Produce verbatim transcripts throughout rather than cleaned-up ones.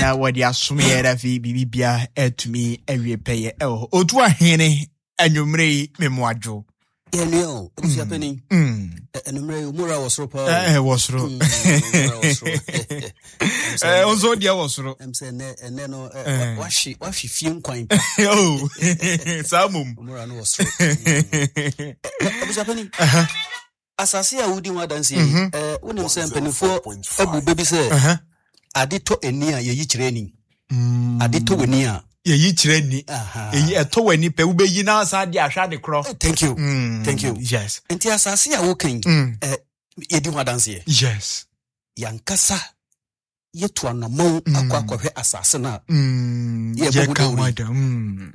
Na wɔde asom yɛ na afei biribibia atumi awie pɛyɛ ɛwɔ hɔ. Otu ahene, anwummerɛ yi memmoadwo. Yɛnua o, abusua panin. Mm. Anummerɛ yi omura wɔ soro paa o. Ɛ, wɔ soro. Mm, omura wɔ soro. Ɛ, wo nso deɛ wɔ soro. Ɛm sɛ ɛnɛ ɛnɛ no ɛ, Eh. wa- wahwe wahwe fie nkwan pa. Oh, saa mmom. Omura no wɔ soro. Mm. Ɛ, abusua panin, asase a wodi ho adanseɛ yi, Mhm. ɛ, wonim sɛ mpanimfoɔ abu bɛ bi sɛ Aha. ade tɔ ani a, yɛyi kyerɛ ani. Mm. Ade tɔ w'ani a, yɛyi kyerɛ ni. Aha. Ɛyi ɛtɔ w'ani pɛ, wobɛyi na asa de ahwɛ ade korɔ. Eh, thank you. Mm, Thank you. Yes. Nti asase a woka yi, Mm. ɛ, yɛdi ho adanseɛ. Yes. Yɛankasa yɛtu anammɔn Mm. akɔ akɔhwɛ asase no a Mm. yɛbɔ ho Yɛka ho dawuro yi. ada. Mm.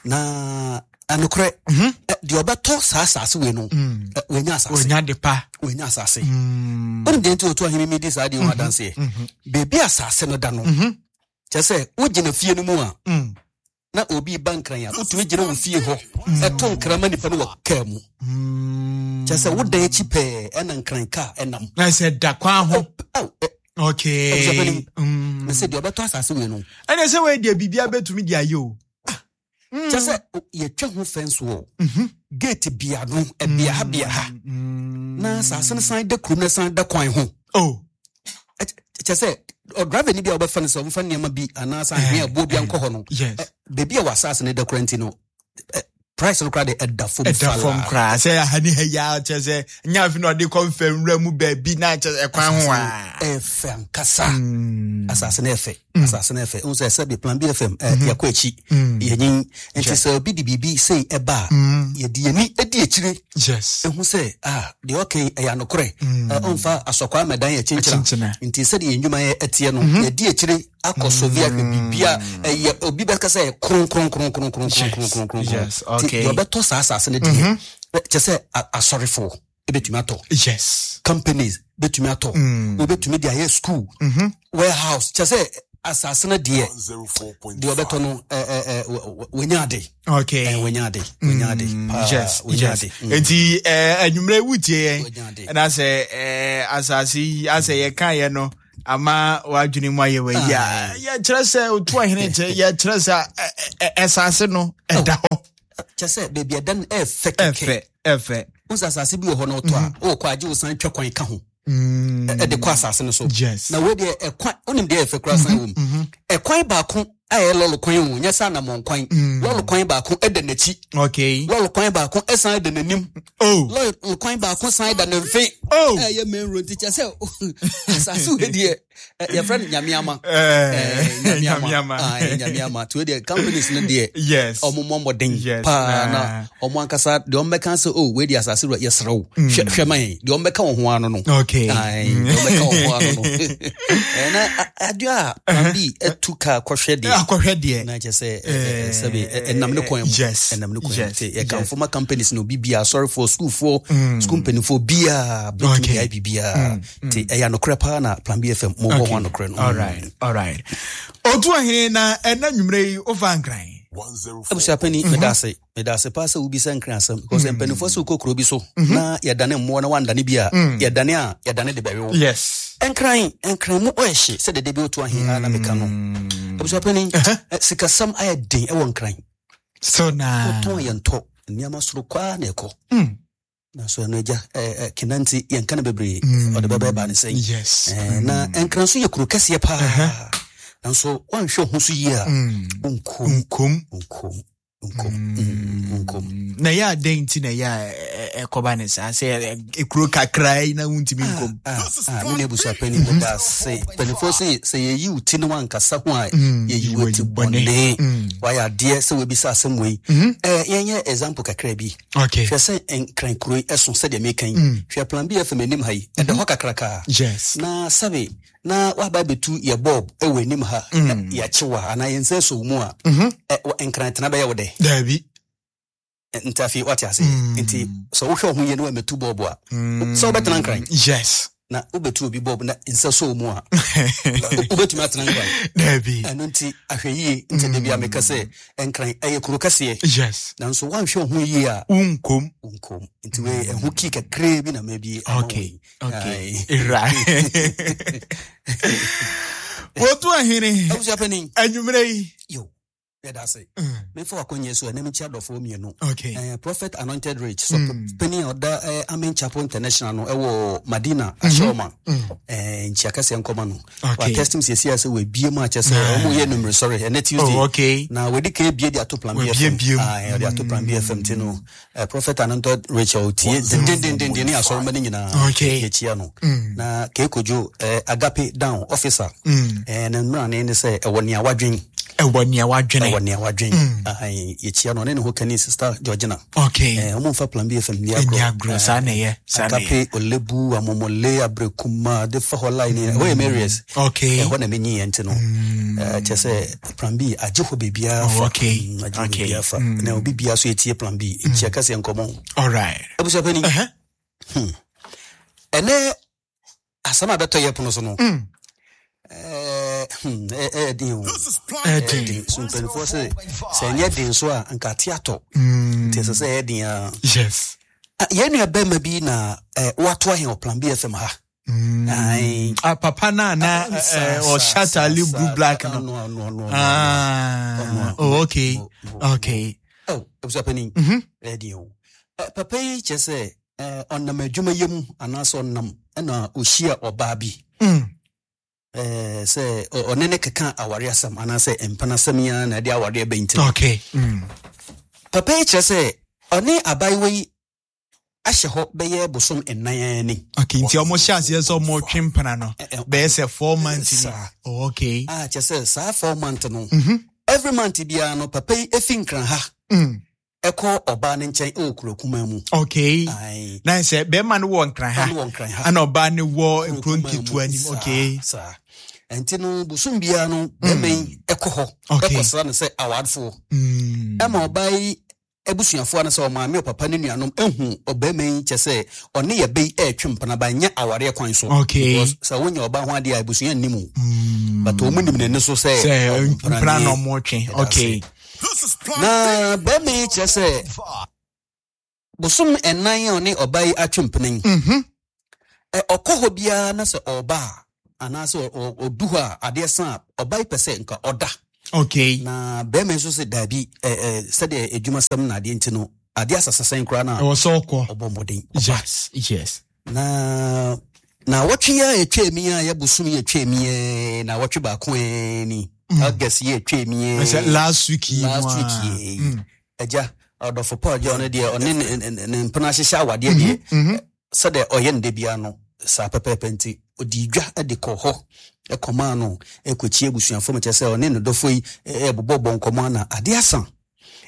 Na anokorɛ, Mhm. ɛ, deɛ ɔbɛtɔ saa asase wei no, Mm. ɛ, wanya asase. Onya de pa. Wanya asase. Mm. Wonim deɛ nti ɔtu ahene mi di saa deɛ ho adanseɛ? Mhm. Baabi asase no da no, Mhm. kyerɛ sɛ wogyina fie no mu a, Mm. na obi ba Nkran a, wotumi gyina wo fie hɔ ɛto nkran ma nipa no wɔ kaa mu. Mm. Kyerɛ sɛ wodan akyi pɛɛ ɛna Nkran kaa ɛnam. Na sɛ da kwan ho. Aw, ɛ, Okay. Abusua panin, Mm. mese deɛ ɔbɛtɔ asase wei no, ɛnɛ sɛ wei deɛ biribia bɛtumi de ayɛ o. Kyerɛ sɛ o- yɛtwa ho fɛn wɔ Mhm. gate bia no, ɛbea ha bea ha, Mm. na asase no san da kurom na san da kwan ho. Oh. Ɛ- kyerɛ sɛ ɔdriver ni bi a wɔbɛfa no sɛ ɔmfa nneɛma bi anaasɛ ahwea aboɔ bi ankɔ hɔ no, Yes. ɛ, baabi a wɔ asase no da kora nti no, ɛ, price no kora de ɛda fam. Ɛda fam falaa. koraa sɛ aha ne ha yi a, kyerɛ sɛ nyɛ afe na ɔde kɔ mfa nwura mu baabi na kyerɛ sɛ ɛkwan ho a. Ɛfɛ ankasa. Mm. Asase no ɛfɛ, asase no ɛfɛ. Wohu sɛ sɛbi Plan B F M, ɛ, yɛkɔ akyi, Mm. yɛnyin nti sɛ obi de biribi sei ɛba a, Mm. yɛde yɛni adi akyire Yes. ɛhu sɛ ah, deɛ ɔka yi ɛyɛ anokorɛ. Mm. Ɛ, ɔmfa asɔkwa mɛdan yɛ kyenkyena. Akyenkyena. Nti sɛdeɛ yɛn nnwuma yɛ ɛteɛ no, yɛdi akyire akɔ so bi ahwɛ biribia ɛyɛ obi bɛka sɛ ɛyɛ kronkronkronkronkronkronkronkron. Yes, Nti okay. deɛ ɔbɛtɔ saa asase no deɛ, ɛ, kyɛ sɛ a- asɔrefoɔ ɛbɛtumi atɔ, Yes. companies bɛtumi atɔ, Mm. wobɛtumi de ayɛ school, Mhm. warehouse. Kyɛ sɛ asase no deɛ, deɛ ɔbɛtɔ no, ɛ, ɛ, ɛ, wɔ- wɔ- wɔnya ade. Okay. Ɛ, wɔnya ade, wɔnya ade Mm, paa, yes, wɔnya yes. ade. Mm. Nti eh, anwummerɛ wotie yɛn Wɔnya ade. ɛna sɛ eh, asase yi asɛ yɛkaeɛ no ama w'adwene mu ayɛ wayi a, yɛkyerɛ sɛ otu ahene kyerɛ yɛkyerɛ sɛ ɛ- ɛ- ɛ- ɛsase no ɛda hɔ. Kyɛ sɛ baabi ɛda no ɛɛfɛ kɛkɛ. Ɛfɛ ɛfɛ. Wo sɛ asase bi wɔ hɔ no, ɔtɔ a, wowɔ kɔ agye wo san twa kwan ka ho Mm. ɛ- ɛde kɔ asase no so. Yes. Na wei deɛ, ɛkwan, wonim deɛ ɛfɛ koraa san wɔ mu, ɛkwan baako a ɛyɛ lɔɔre kwan o, nyɛ sɛ anammɔn kwan. Lɔɔre kwan baako ɛda n'akyi, Okay. lɔɔre kwan baako ɛsan da n'anim, Oh. lɔɔre kwan baako san da ne mfe. Oh. Ɛyɛ main road. Nti kyɛ sɛ asase wei deɛ, ɛ, yɛfrɛ no Nyameama. Eh, Nyame Nyame ama. ama. Nyame ama. Nti wei deɛ, companies no deɛ, Yes. ɔmo mmɔ mmɔden Yes, paa na- na ɔmo ankasa deɛ ɔmo bɛka sɛ, "Oh, wei deɛ, asase wura, yɛsrɛ wo, hwɛ hwɛ ma yɛn," deɛ ɔmo bɛka wɔn ho ano no. Okay. Ae, deɛ ɔmo bɛka wɔn ho ano no. Ɛ, na a- adeɛ a Plan B ɛtu kaa kɔhwɛ deɛ, Akɔhwɛ deɛ. Na kyerɛ sɛ ɛ, ɛ, ɛ, sɛbi ɛ, ɛnam ne kwan mu. Yes. Ɛnam ne kwan mu. Yes. Nti yɛkamfo ma companies no, obi bia, asɔrefoɔ, sukuufoɔ, sukuu mpanimfoɔ biaa bɛtumi Okay. de ayɛ biribiaa. Nti ɛyɛ anokorɛ paa na Plan B F M mobɔ ho anokorɛ no. All right. All right. Otu ahene, na ɛna nwummerɛ yi wofa Nkran. Abusuapani, meda ase, meda ase paa sɛ wobisa Nkran asɛm, because mpanimfoɔ sɛ wokɔ kuro bi so na yɛdane mmoa na wandane bi a, yɛdane a yɛdane de bɛwe wo. Yes. Nkran, Nkran mu ɔyɛ hye sɛ dede bi woto ahe a na meka no. Abusuapani, ɛ, sikasɛm ayɛ den ɛwɔ Nkran. So na. Wotɔn yɛntɔ, nneɛma soro kwaa na ɛkɔ. Mm. Nanso ɛno agya, ɛ, ɛ, kena nti yɛnka no bebree, ɔde bɛbɛɛ ne sɛn. Yes. Ɛ, na Nkran so yɛ kuro kɛseɛ paa, nanso woanhwɛ wo ho so yie a, wonkom. Nkom. Nkom, nkom, mm, nkom. Na ɛyɛ adɛn nti na ɛyɛ a ɛ- ɛ- ɛkɔba ne saa sɛ ɛ- ekuro kakra yi na wontumi nkom? Ah, ah, me ne abusuapani, meda ase. Mpanimfoɔ sɛ sɛ yɛyi wo ti ne wankasa ho a, yɛyi wo ti bɔne. Wayɛ adeɛ sɛ wabisa asɛm wei. Eh, yɛnyɛ example kakra bi. Okay. Hwɛ sɛ Nkran kuro yi ɛso sɛdeɛ meka yi. Hwɛ Plan B F M anim ha yi, ɛda hɔ kakrakaa. Yes. Na sɛbe na waba bɛtu yɛ bulb ɛwɔ anim ha na yɛakye wo a, anaa yɛn nsa sɔ wo mu a, ɛ, wɔ- Nkran tena bɛyɛ wo dɛ? Daabi. Nti afei wate ase. Nti sɛ wohwɛ wo ho yie na wamɛtu bulb a, sɛ wobɛtena Nkran. Yes. Na wobɛtu obi bulb na nsa sɔ wo mu a, wobɛtumi atena Nkran? Daabi. Ɛno nti ahwɛ yie. Nti da bi a meka sɛ Nkran ɛyɛ kuro kɛseɛ, Yes. nanso woanhwɛ wo ho yie a, Wonkom. wonkom. Nti wei ɛho kii kakraa bi na mabi ama wo Okay. yi. Okay. Aye. Right. Wɔtu ahene. Abusua panin. Anwummerɛ yi. Yo, yɛda ase. Memfa wakɔnyɛ so ɛnɛ mekyia adɔfoɔ mmienu. Okay. Eh, Prophet Anointed Rich, so panin a ɔda eh, Amen Chapel International no ɛwɔ Madina Ahyɛwoma. Eh, nkyia kɛseɛ nkɔma no. Okay. Watestim siesie a sɛ wabie mu akyɛ sɛ ɔmo yɛ numere sɔre ɛnɛ Tuesday. Oh, okay. Na wadi kan ebie de ato Plan B Wabie F M. biem. Ah, ɔde ato Plan B F M ti no eh, Prophet Anointed Rachel tie dendendenden ne asɔrɔma no nyinaa. Okay. Yɛkyia no. Na Kekojo eh, Agape Down officer. Eh, ne mmerane ne sɛ ɛwɔ nea wadwen. Ɛwɔ nea wadwene. Ɛwɔ nea wadwen. Ahan, yɛkyia no ɔne ne ho kani Sister Georgina. Okay. Eh, ɔmo mfa Plan B F M ni Ɛni agorɔ. agorɔ, saa na ɛyɛ, saa na ɛyɛ. Agape, Olebu, Amomole, Abrekuma, de fa hɔ line. Ɛhɔ yɛ Marius. Okay. Ɛhɔ na menyi yɛn nti no. Eh, kyerɛ sɛ Plan B agye hɔ baabiara Oh, fa. okay. Mm, agye hɔ Okay. baabiara fa. Na obi biara so yɛtie Plan B. Nkyia kɛseɛ nkɔmmɔ. All right. Abusua panin. Uh-huh. Ɛnɛ asɛm a bɛtɔ yɛ pono so no. Eh, hmm, ɛ- ɛyɛ den o. Ɛden. Den. So mpanimfoɔ sɛ sɛ ɛnyɛ den so a nka ate atɔ. Nti ɛsɛ sɛ ɛyɛ den a. Yes. Ah, yɛn nua bɛrima bi na eh, watoa hɛn wɔ Plan B F M ha. Ae. Ah, papa na na Ah, saa, eh, saa, ɔhyɛ saa, ataale saa, blue black saa, no. no, no, no, no, Ah. no. Oh, okay. Mo, mo, Okay. Oh, abusua panin. Ɛyɛ den o. Eh, papa yi kyerɛ sɛ eh, ɔnam adwuma yɛ mu anaasɛ ɔnam ɛna ɔhyia ɔbaa bi. Mm. Eh, sɛ ɔ- ɔne ne keka aware asɛm anaasɛ mpena asɛm yi ara na ɛde awareɛ bɛn nti no. Okay. Mm. Papa yi kyerɛ sɛ ɔne abaayewa yi ahyɛ hɔ bɛyɛ bosom nnan ani. Okay, nti ɔmo hyɛ aseɛ sɛ ɔmo twe mpena no Eh, eh, bɛyɛ sɛ four months ni. Saa. Oh, okay. Ah, kyerɛ sɛ saa four month no, every month biara no papa yi efi Nkran ha Mm. ɛkɔ ɔbaa ne nkyɛn ɛwɔ kuro kumaa mu. Okay. Ae. Na sɛ bɛrima no wɔ Nkran ha. Ɔno wɔ Nkran ha. Ana ɔbaa no wɔ nkuro Kuro kumaa mu. nketewa nim. Saa, Okay. saa. Nti no bosom biara no bɛrima yi ɛkɔ hɔ Okay. ɛkɔsra no sɛ awarefoɔ. Mm. Ɛma ɔbaa yi abusuafoɔ no sɛ ɔmaame ɔpapa ne nuanom ehu ɔbɛrima yi kyɛ sɛ ɔne yɛ bɛyi ɛɛtwe mpena ba nyɛ awareɛ kwan so. Okay. Because sɛ wonya ɔbaa ho adeɛ a abusua nnim o. Mm. But ɔmo nim n'ani so sɛ Sɛ ɔmo mpena nie. na ɔmo twe. Ɛda Okay. ase. Na bɛrima yi kyerɛ sɛ bosom ɛnan a ɔne ɔbaa yi atwe mpena yi. Mhm. Ɛ, ɔkɔ hɔ biara na sɛ ɔba a anaasɛ ɔ- ɔ- ɔdu hɔ a adeɛ sa a ɔbaa yi pɛ sɛ nka ɔda. Okay. Na bɛrima nso sɛ daabi, ɛ, ɛ, sɛdeɛ adwumasɛm na adeɛ nti no adeɛ asasasɛn koraa no a Ɛwɔ sɛ ɔkɔ. ɔbɔ mmɔden. Yes. Yes. Na na wɔtwe a yɛtwa mi a yɛbosom yɛtwa mi ɛ, na wɔtwe baako ɛ ni August yɛtwa mi ɛ. Sɛ last week yi mu Last a. week yi. Mm. Agya ɔdɔfo Paul gye ɔno deɛ ɔne ne- ne ne mpena ahyehyɛ awadeɛ deɛ sɛdeɛ ɔyɛ no da biara no saa pɛpɛɛpɛ nti ɔdi dwa de kɔ hɔ ɛkɔmaa no ɛkɔkyie abusuafoɔ mu kyerɛ sɛ ɔne ne dɔfo yi ɛ- ɛbobɔ bɔ nkɔmmɔ ana adeɛ asa.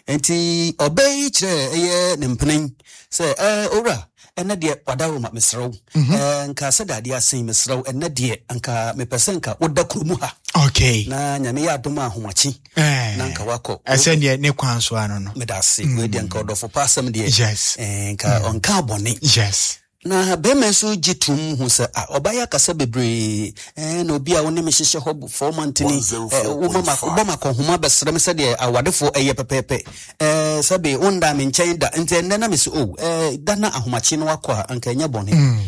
Nti ɔbɛ yi kyerɛ ɛyɛ ne mpena yi sɛ ɛɛ owura, ɛnɛ deɛ wadaworo mesrɛ wo, ɛɛ nka sɛdeɛ adeɛ asen mesrɛ wo, ɛnɛ deɛ nka mepɛ sɛ nka woda kurom ha. Okay. Na Nyame yɛ adom a ahomakye Eh. na nka wakɔ. Ɛsɛ deɛ ne kwan so ano no. Meda ase. Wei deɛ nka ɔdɔfo pa asɛm deɛ. Yes. ɛɛ, nka ɔnka abɔne. Yes. Na bɛrima nso gye tom hu sɛ ah, ɔbaa yi akasa bebree ɛɛ, na obi a wo ne me hyehyɛ hɔ four month ni ɛɛ, woma ma wobɔ ma akɔnhoma bɛsrɛ me sɛdeɛ awadefoɔ ɛyɛ pɛpɛɛpɛ ɛɛ, sɛbe wonda me nkyɛn da nti ɛnnɛ na me sɛ o ɛɛ, da na ahomakye no wakɔ a anka ɛnyɛ bɔne.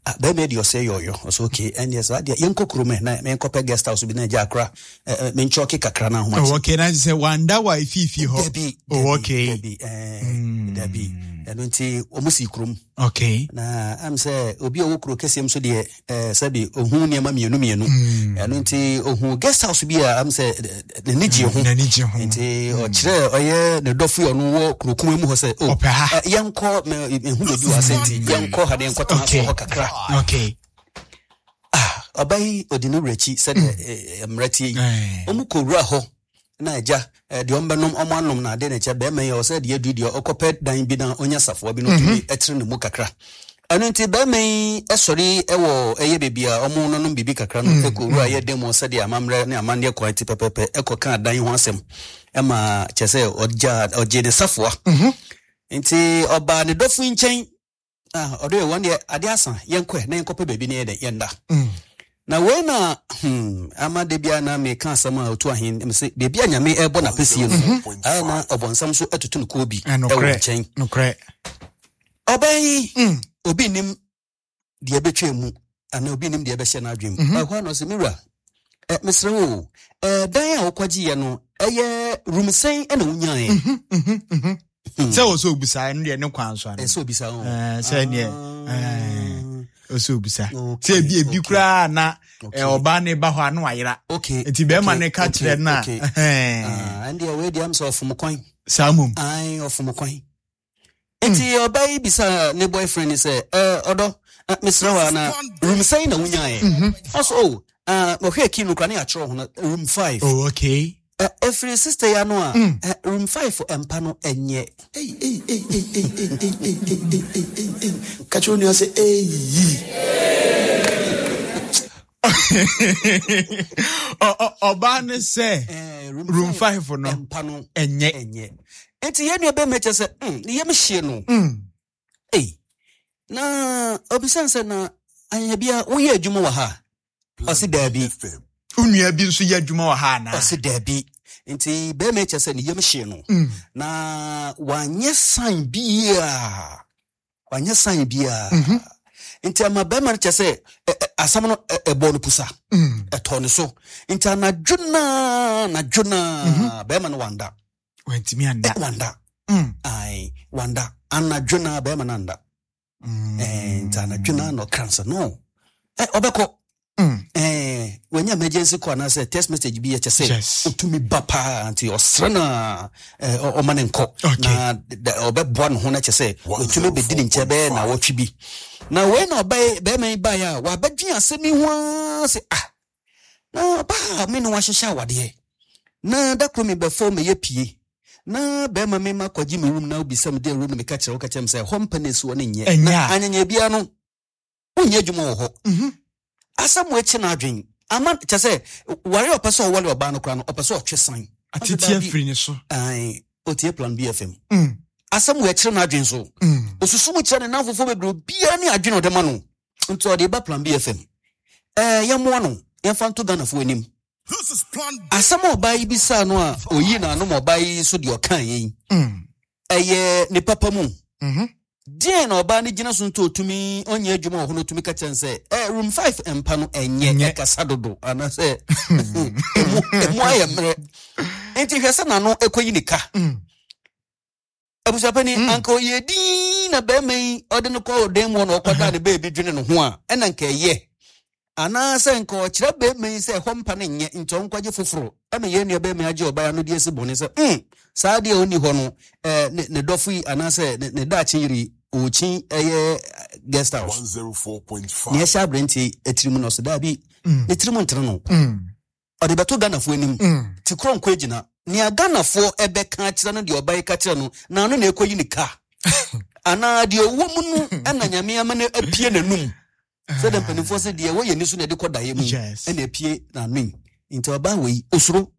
Ah, bɛrima yi deɛ ɔsɛ yɔyɔ ɔsɛ okay, ɛndeɛ saa deɛ yɛnkɔ kurom ɛ na menkɔpɛ guest house bi na agya akora ɛɛ, menkyɔke kakra na ahomakye. Oh, okay. Na sɛ wanda wa efiifi hɔ. Dabi. Oh, okay. Dabi, ɛɛ, dabi, ɛno nti ɔmo si kurom. Okay. Na am sɛ obi a ɔwɔ kuro kɛseɛ mu so deɛ ɛɛ, sɛbi ohun nneɛma mmienu mmienu. Ɛno nti ohun guest house bi a am sɛ ɛ, ɛ, n'ani gye ho. N'ani gye ho. Nti ɔkyerɛ ɔyɛ ne dɔfo yi a ɔno wɔ kuro kuma mu hɔ sɛ o Ɔpɛ ha. ɛ, yɛnkɔ mɛ ehu baabi wɔ ase nti yɛnkɔ ha de yɛnkɔ tena Okay. so hɔ kakra. Okay. Ah, ɔba yi ɔdi ne wura akyi sɛdeɛ ɛ, ɛ, mmerɛ tie yi. Eh. Ɔmo kɔ wura hɔ na agya ɛ, deɛ ɔmbɛnom ɔmo anom na ade na kyɛ bɛrima yi ɔsɛ deɛ adu deɛ ɔkɔpɛ dan bi na ɔnya safoa bi na ɔtumi ɛtene ne mu kakra. Ɛno nti bɛrima yi ɛsɔre ɛwɔ ɛyɛ baabi a ɔmo nonom biribi kakra no ɛkɔ wura yɛ dan mu sɛdeɛ amammerɛ ne amanneɛ kwan ti pɛpɛpɛ ɛkɔ kaa dan ho asɛm ɛma kyɛ sɛ ɔgya ɔgye ne safoa. Nti ɔbaa ne dɔfo yi nkyɛn ah, ɔde wɔn deɛ ade asa yɛnkɔ ɛ na yɛnkɔpɛ baabi na yɛ dɛ yɛnda. Na wei na hmm, ama de bia na meka asɛm a ɔtu ahen sɛ baabi a Nyame ɛbɔ n'apɛsie no ayɛ na ɔbɔnsam so atutu no kɔɔ bi Eh, ɛwɔ nokorɛ. nkyɛn. Nokorɛ. Ɔbɛn yi obi nim deɛ ɛbɛtwa mu anaa obi nim deɛ ɛbɛhyɛ n'adwene mu. Ɛhɔ a na ɔsɛ mewura Eh, mesrɛ wo, eh, dan a wokɔgyeeɛ no, ɛyɛ room sɛn ɛna wonyaeɛ? Sɛ wɔ sɛ obisa, ɛno deɛ ne kwan so ano. Ɛsɛ obisa o. Eh, sɛ neɛ, Ah. ɔsɛ obisa. Okay, Sɛ ebi ebi okay. koraa na Okay. eh, ɔbaa ne ba hɔ a na wayera. Okay. Nti bɛrima okay, ne ka okay, kyerɛ no a, okay. ɛhɛn, Ah, ɛndeɛ wei deɛ am sɛ ɔfom kwan. saa mmom. Ai, ɔfom kwan. Nti ɔbaa yi bisa ne boyfriend ni sɛ, "Eh, ɔdɔ, eh, mesrɛ wo a, na room sɛn na wonyaeɛ?" Ɔsɛ, "Oh, ah, ɔhwɛ key no koraa ne yɛatwerɛ ho no, room five." Oh, okay. Eh, ɛfiri sister yi ano a, eh, room five mpa no ɛnyɛ. Ei, ei, ei, ei, ei, ei, ei, ei, ei, ei, ei, ei, ei. Ka kyerɛ wo nua sɛ, "Eyi." Ɔ- ɔ- Ɔbaa ne sɛ Eh, room five no mpa no ɛnyɛ. ɛnyɛ. Nti yɛn nua bɛrima kyerɛ sɛ, mm, ne yam hye no. Mm. Ei, na obisa sɛ, na anyɛ bia woyɛ adwuma wɔ ha? Ɔse daabi. Wo nua bi nso yɛ adwuma wɔ ha anaa? Ɔse daabi. Nti bɛrima kyerɛ sɛ ne yam hye no. Mm. Na wanyɛ sign biaa. Wanyɛ sign biaa. Mhm. Nti ama bɛrima no kyerɛ sɛ ɛ- ɛ, asɛm no ɛ- ɛbɔɔ no pusa. Mm. Ɛtɔɔ ne so. Nti anadwo naa, anadwo naa, bɛrima no wanda. Wantumi anda. Ɛ, wanda. Mm. Ai, wanda. Anadwo naa bɛrima no anda. Mm. Eh, nti anadwo naa na ɔka sɛ no. Ɛ, ɔbɛkɔ. Mm. Eh, wanya emergency call anaasɛ text message bi yɛ kyɛ sɛ Yes. ɔtumi ba paa, nti ɔsrɛ no a eh, ɔ- ɔma ne nkɔ. Okay. Na d- ɔbɛboa ne ho no kyɛ sɛ ɔtumi bɛdi ne nkyɛn bɛyɛ na wɔtwe bi na wei na ɔbɛyɛ bɛrima yi baeɛ a wabɛdwe asɛm yi ho ara sɛ, ah, na ɔbaa me ne wahyehyɛ awadeɛ na da koro mebɛfɔ meyɛ pie na bɛrima me ma kɔgye me room na wobisa me de room no, meka kyerɛ wo ka kyerɛ me sɛ hɔ mpa no ɛsi hɔ no nyɛ. Ɛnyɛ Na a. anyanya biara no wonyɛ adwuma wɔ hɔ. Mhm. Asɛm wɔ akyi no adwen ama kyɛ sɛ ware a ɔpɛ sɛ ɔware ɔbaa no koraa no, ɔpɛ sɛ ɔtwe san. Atete afiri ne so. Ai, ɔtie Plan B F M. Mm. Asɛm wɔ akyerɛ no adwen so. Mm. Osusu mu kyerɛ ne namfofoɔ bebree, obiara ne adwene a ɔde ma no, nti ɔde ba Plan B F M. Ɛɛ, yɛmmoa no, yɛmfa nto Ghanafoɔ anim. Asɛm a ɔbaa yi bisaa no a ɔyi n'anom, ɔbaa yi so deɛ ɔkaa yɛ yi, Mm. ɛyɛ ne papa mu. Mhm. Deɛn na ɔbaa no gyina so nti ɔtumi ɔnyɛ adwuma wɔ hɔ no, ɔtumi ka kyerɛ no sɛ eh, room five mpa no ɛnyɛ? Ɛnyɛ. Ɛkasa dodo anaasɛ ɛmu ɛmu ayɛ mmerɛ, nti hwɛ sɛ n'ano ɛkɔyi ne ka. Mm. Abusuapani, Mm. anka ɔyɛ din na bɛrima yi ɔde no kɔ ɔdan mu hɔ na ɔkɔda ne baabi dwene ne ho a, ɛna nka ɛyɛ, anaasɛ nka ɔkyerɛ bɛrima yi sɛ ɛhɔ mpa no nyɛ nti ɔnkɔgye foforɔ, ɛma yɛn nua bɛrima yi agye ɔbaa no de asi bɔne sɛ mm, saa deɛ ɔnni hɔ no, ɛɛ, ne ne dɔfo yi anaasɛ ne ne daakye yere yi ɔɔkyin ɛyɛ guest house. one oh four point five. Nea ɛhyɛ aberante atirim no, ɔsɛ daabi, Mm. ne tirim ntere no. Mm. Ɔde bɛto Ghanafoɔ anim. Mm. Te korɔ nkɔ agyina nea Ghanafoɔ ɛbɛka akyerɛ no, deɛ ɔba yi ka kyerɛ no na ano na ɛkɔyi ne ka anaa deɛ ɔwɔ mu no, ɛna Nyame ama no apue n'anum sɛdeɛ mpanimfoɔ sɛ deɛ ɛwɔ yɛn ni so na ɛde kɔ daeɛ mu. Yes. Ɛna apue n'ano yi, nti ɔbaa wɔ yi osuro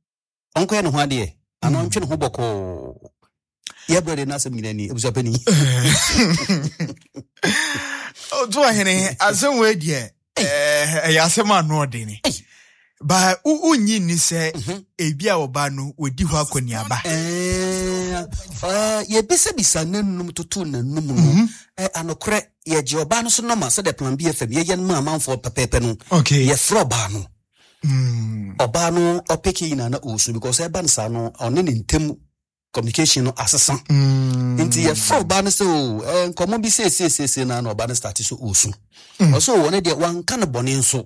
ɔnkɔyɛ ne ho adeɛ anaa ɔntwe ne ho bɔkɔɔ. Yɛbrɛ de n'asɛm nyinaa ni, abusuapani. Ɔto ɔhene, asɛm wei deɛ, ɛɛ, ɛyɛ asɛm a ano ɔdene ba. Wonnyi nni sɛ ebi a ɔba no wɔdi hɔ akɔneaba? Ɛɛ, ɛɛ, yɛbisabisa n'anum toto n'anum no. Ɛ, anokorɛ yɛgye ɔbaa no so nɔma sɛdeɛ Plan B F M yɛyɛ no ma amanfoɔ pɛpɛɛpɛ no. Okay yɛfrɛ ɔbaa no. Mm. Ɔbaa no ɔpeke nyinaa na ɔɔsu because ɛba no saa no, ɔne ne ntam communication no asesa. Mm. Nti yɛfrɛ ɔbaa no sɛ o ɛ, nkɔmmɔ bi seesiesie na na ɔbaa no start so ɔɔsu. Ɔsɛ o ɔne deɛ wanka no bɔne nso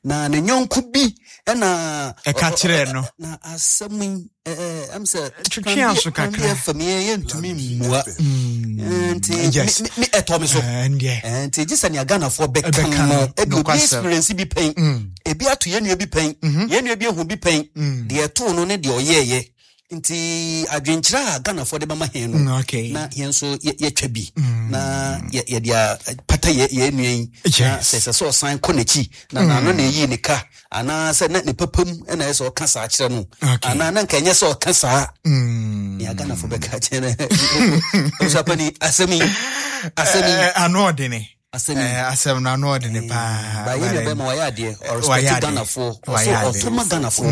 na ne nyɔnko bi ɛna Ɛka kyerɛɛ no. Na asɛm yi ɛɛ ɛm sɛ Twetwe aso kakra. Fam yɛ yɛntumi mmua. Mm. Eh, nti Yes. me- me- me ɛtɔ me so. Eh, ndeɛ Eh, nti gye sɛ nea Ghanafoɔ bɛka Ɛbɛka no, no, ebi obi nokwasɛm. experience bi pɛn, Mm. ebi ato yɛn nua bi pɛn, Mhm. yɛn nua bi ehu bi pɛn, Mm. deɛ ɛtoo no ne deɛ ɔyɛɛyɛ, nti adwenkyerɛ a Ghanafoɔ de bɛma hɛn no, Mm, okay na yɛn nso yɛ- yɛtwa bi Mm. na yɛ- yɛde a pata yɛ yɛn nua yi na Yes. sɛ ɛsɛ sɛ ɔsan kɔ n'akyi na n'ano na eyi ne ka anaasɛ na ne papa mu ɛna ɛsɛ sɛ ɔka saa kyerɛ no Okay. anaa na nka ɛnyɛ sɛ ɔka saa. Mm. Nea Ghanafoɔ bɛka kyerɛ no, abusuapani, asɛm yi asɛm yi Eh, ano ɔdene. Asɛm yi. Eh, asɛm no ano ɔdene paa. Ba yɛn nua bɛrima wayɛ adeɛ. Wayɛ Ɔrespect adeɛ. Ghanafoɔ. Wayɛ Ɔso adeɛ. ɔtoma Ghanafoɔ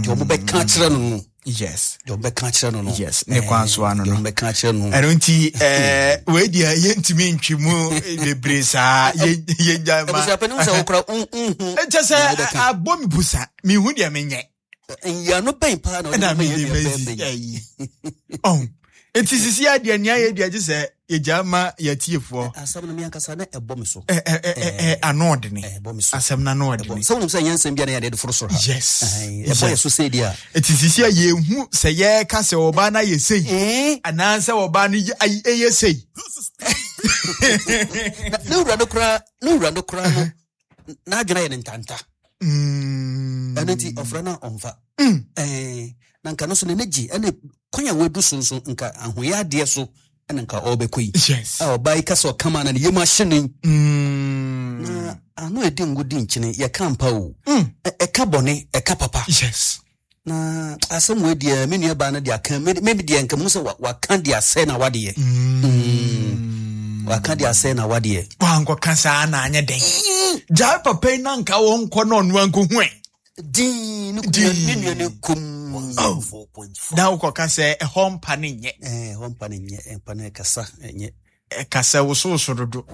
deɛ ɔmo bɛka kyerɛ no no. Yes. Deɛ ɔmbɛka kyerɛ no no. Yes, ne kwan so ano Deɛ no. ɔmbɛka kyerɛ no. Ɛno nti eh, wei deɛ yɛntumi ntwi mu bebree saa. Yɛ- yɛgya ma Abusuapɛni wo sɛ wokora nhu. Ɛkyɛ sɛ abɔ me busa, mehu deɛ menyɛ. Nyiano bɛn paa na ɔde Ɛna bɛma yɛn mede nua masi bɛrima yi? ayi ɔn nti sisi adeɛ nea yɛ deɛ gye sɛ yɛgya ma yɛtiefoɔ. Asɛm no me ankasa na ɛbɔ me so. Ɛ- ɛ- ɛ- ɛ- ɛ, ano ɔdene. Ɛbɔ me so. Asɛm no ano Ɛbɔ- ɔdene. Sɛ wonim sɛ ɛnyɛ nsɛm bia na yɛde de foro soro ha. Yes. Ɛhɛn, ɛbɔ yɛ so sɛ deɛ a Nti sisi a yɛhu sɛ yɛka sɛ ɔbaa no ayɛ sei Eh, anaasɛ ɔbaa no yɛ- ay- ɛyɛ sei. Na ne wura no koraa ne wura no koraa no n'adwene ayɛ ne ntanta. Mm. Ɛno nti ɔfrɛ no a ɔmfa. Ɛɛ, na nka no so ne gye ɛne kwan a wadu so nso nka ahoyɛ adeɛ so ɛna nka ɔrebɛkɔ yi. Yes. A ɔbaa yi ka sɛ ɔkama na ne yam ahye no yi. Mm. Na ano a ɛdi ngo di nkyene yɛka mpa o. Mm. Ɛ- ɛka bɔne, ɛka papa. Yes. Na asɛm wei deɛ, me nua baa no de aka me me deɛ nka mu sɛ wa- waka de asɛe na wadeɛ. Mm. Waka de asɛe na wadeɛ. Wankɔka saa na anyɛ den gyae papa yi na nka wɔnkɔ na ɔno ankɔhu ɛ. Din ne Din. ne nua ne kum. Na wokɔka sɛ ɛhɔ mpa ne nyɛ. Ɛɛ, hɔ mpa ne nyɛ, mpa ne kasa ɛnyɛ. Ɛka sɛ wosowoso dodo.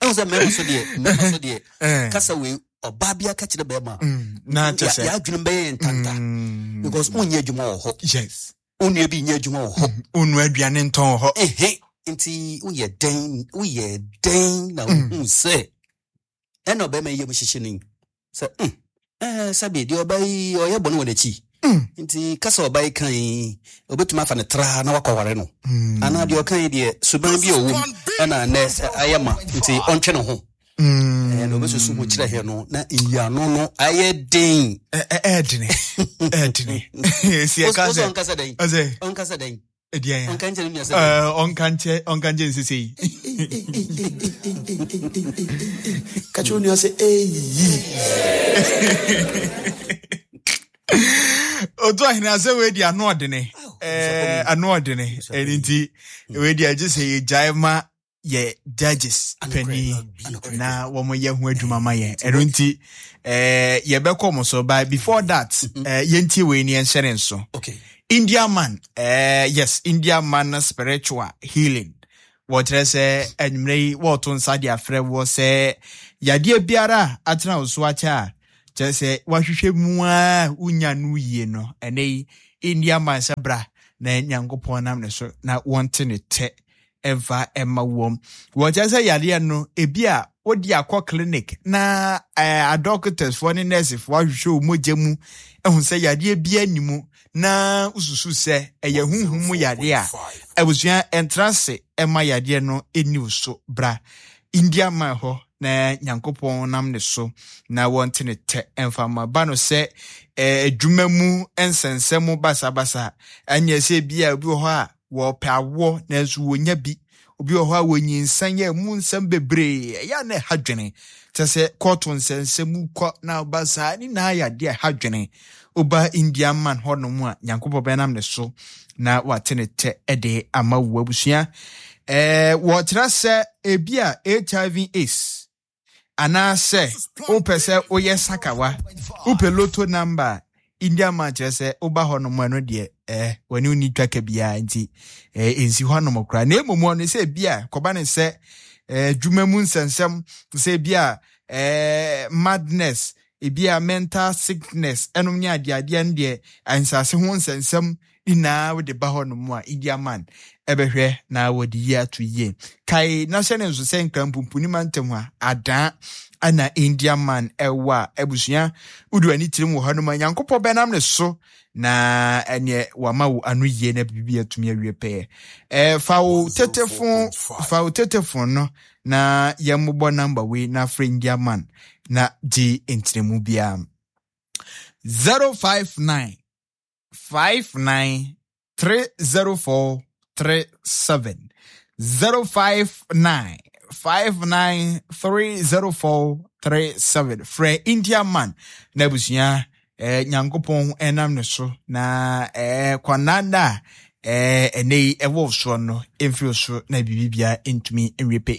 Ɛhu sɛ mmarima so deɛ mmarima so deɛ Eh. kasa wei ɔbaa bi aka kyerɛ bɛrima a, Mm, na kyɛ yɛ sɛ yɛadwene bɛyɛ yɛn ntanta Mm, because wonyɛ adwuma wɔ hɔ. Yes. Wo nua bi nyɛ adwuma wɔ hɔ. Wonu aduane ntɔn wɔ hɔ. Ehe, nti woyɛ dɛn woyɛ dɛn na wohu sɛ ɛna ɔbɛrima yi yɛ mu hyehye no yi sɛ mm, ɛɛ, sɛbe deɛ ɔba yi ɔyɛ bɔne wɔ n'akyi. Mm. Nti kasa ɔba yi kan yi obɛtumi afa ne traa na wakɔware no Mm. anaa deɛ ɔka yi deɛ suban bi a ɔwɔ mu ɛna nnɛ ɛ, ayɛ ma nti ɔntwe ne ho. Mm. Ɛɛ, na ɔbɛsusu ho kyerɛ hɛ no na nyiano no ayɛ den. Ɛ- ɛ- ɛɛdene ɛɛdene si ɛka Wo- wo sɛ sɛ ɔnkasa dɛn? Ɔsɛ Ɔnkasa dɛn? ɛdeɛn a Ɔnka nkyerɛ ne nua sɛ dɛn? Ɛɛ, ɔnka nkyɛ ɔnka nkyɛ nsesei. Ka kyerɛ wo nua sɛ eyi. Otu ahene asɛ wei di ano ɔdene. Ɛɛ, ano ɔdene. Ɛno nti wei di agye sɛ yɛgyae ma yɛ judges panyin Anokorɛ. na wɔn yɛ ho adwuma ma yɛn. Ɛno nti ɛɛ yɛbɛkɔ mo so, but before that, ɛɛ yɛntie wei ni yɛnhyɛ ne nso. Okay. India man, ɛɛ yes, India man spiritual healing. Wɔkyerɛ sɛ anwummerɛ yi wɔɔto nsa de afrɛ wɔ sɛ yadeɛ biara a atena wo so akyɛ a kyerɛ sɛ wahwehwɛ mu a wonya no yie no, ɛnɛ yi India man sɛ bra na Nyankopɔn nam ne so na wɔnte ne tɛ ɛmfa ɛma wɔm. Wɔkyerɛ sɛ yadeɛ no ebi a wode akɔ clinic na ɛɛ adɔkotafoɔ ne nursefoɔ ahwehwɛ wo mogya mu ɛhu sɛ yadeɛ bi ani mu na wosusu sɛ ɛyɛ honhom mu yadeɛ a, abusua, ɛntra se ɛma yadeɛ no ɛni wo so. Bra India man hɔ na Nyankopɔn nam ne so na wɔnte ne tɛ ɛmfa ma ba no sɛ ɛɛ adwuma mu nsɛnsɛm basabasa ɛnyɛ sɛ bi a obi wɔ hɔ a wɔpɛ awoɔ nanso wɔnya bi, obi wɔ hɔ a wɔnyinsan yɛ mu nsɛm bebree ɛyɛ a na ɛha dwene kyɛ sɛ kɔɔto nsɛnsɛm mu kɔ na ɔba saa ne nyinaa yɛ adeɛ a ɛha dwene. Woba India man hɔnom a, Nyankopɔn bɛnam ne so na wate ne tɛ ɛde ama wo. Abusua, ɛɛ wɔkyerɛ sɛ ebi a H I V AIDS anaasɛ wopɛ sɛ woyɛ sakawa, wopɛ lotto number a, India man kyerɛ sɛ woba hɔ nom ɛno deɛ ɛɛ wɔne woni twaka biara nti ɛɛ ɛnsi hɔ nom koraa. Na mmom ɔno sɛ ebi a kɔba ne sɛ ɛɛ adwuma mu nsɛnsɛm sɛ ebi a ɛɛ madness, ebi a mental sickness ɛnom ne adeadeɛ no deɛ nsase ho nsɛnsɛm nyinaa wode ba hɔ nom a, India man ɛbɛhwɛ na wɔde yi ato yie. Kae na hyɛ ne nso sɛ Nkrampumpuni mantam a adaa ana India man ɛwɔ a, abusua, wode w'ani tirim wɔ hɔ nom a, Nyankopɔn bɛnam ne so na ɛneɛ wama wo ano yie na biribi atumi awie pɛɛ. ɛɛ fa wo tetefon fa wo tetefon no na yɛmmobɔ number wei na frɛ India man na gye nkyerɛmu biara: zero five nine five nine three zero four three seven, zero five nine five nine three zero four three seven. Frɛ India man na abusua, eh, Nyankopɔn ɛnam ne so na eh, kwananda a eh, ɛnɛ yi ɛwɔ soɔ no ɛmfiri so na biribi biara ntumi nwie pɛ.